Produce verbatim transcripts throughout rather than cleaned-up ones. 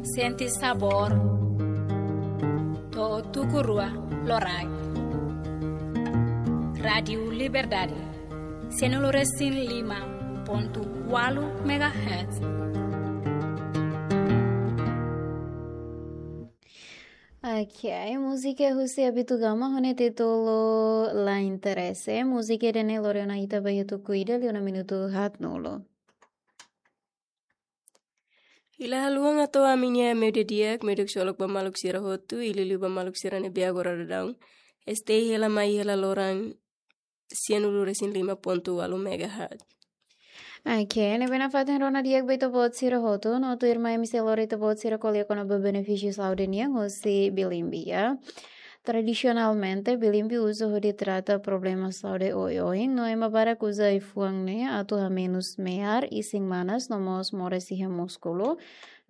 Sente sabór. To'o tuku rua loraik. Rádiu Liberdade. Sianulu resin lima pontu ualu megahertz. Ok, múzika husi Abitugama ho nia títulu La Interese. Múzika ida-ne'e lori ona ita ba iha tuku ida liu ona minutu haatnulu. Hila haluha atu ami-nia meiudia di'ak, meiudia ksolok ba maluk sira hotu, i liuliu ba maluk sira ne'ebé agora daudaun estehi hela mai hela loron sianulu resin lima pontu ualu megahertz. Ok, ne'ebé nafatin rona di'ak ba ita-boot sira hotu, no tuirmai ami sei lori ita-boot sira ko'alia kona-ba benefísiu saúde nian husi Bilimbi, ya. Tradisionalmente, Bilimbi uza hodi trata problema saúde oioin, no ema barak uza ai-fuan ne'e atu hamenus me'ar, isin manas, no mós moras iha múskulu.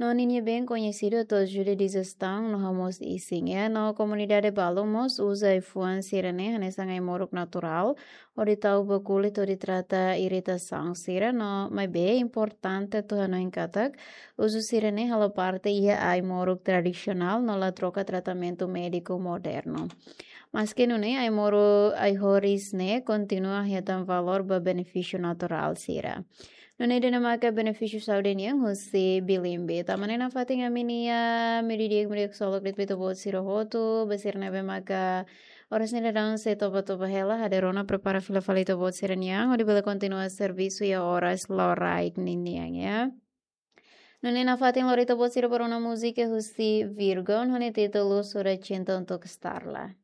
No ninia been koñesidu atu ajuda dijestoun no hamoos isin, ya. No komunidade balu mós uza ai-fuan sira-ne'e hanesan ai-moruk naturál, hodi tau ba kulit hodi trata iritasaun sira, no maibé importante atu hanoin katak uzu sira-ne'e halo parte iha ai-moruk tradisionál no la troka tratamentu médiku modernu. Maske nune'e, ai-moruk ai-horis ne'e kontinua hetan valór ba benefísiu naturál sira. Nune'e ida-ne'e maka benefísiu saúde nian husi Bilimbi. Tanba ne'e nafatin ami-nia meiudia di'ak, meiudia ksolok de'it ba ita-boot sira hotu, ba sira ne'ebé maka oras ne'e daudaun sei toba-toba hela, hadi rona prepara fila fali ita-boot sira-nian, hodi bele kontinua servisu iha oras loraik ninian, ya. Nune'e nafatin lori ita-boot sira ba rona múzika husi Virgon, ho nia títulu Sura Cinta Untuk Starla.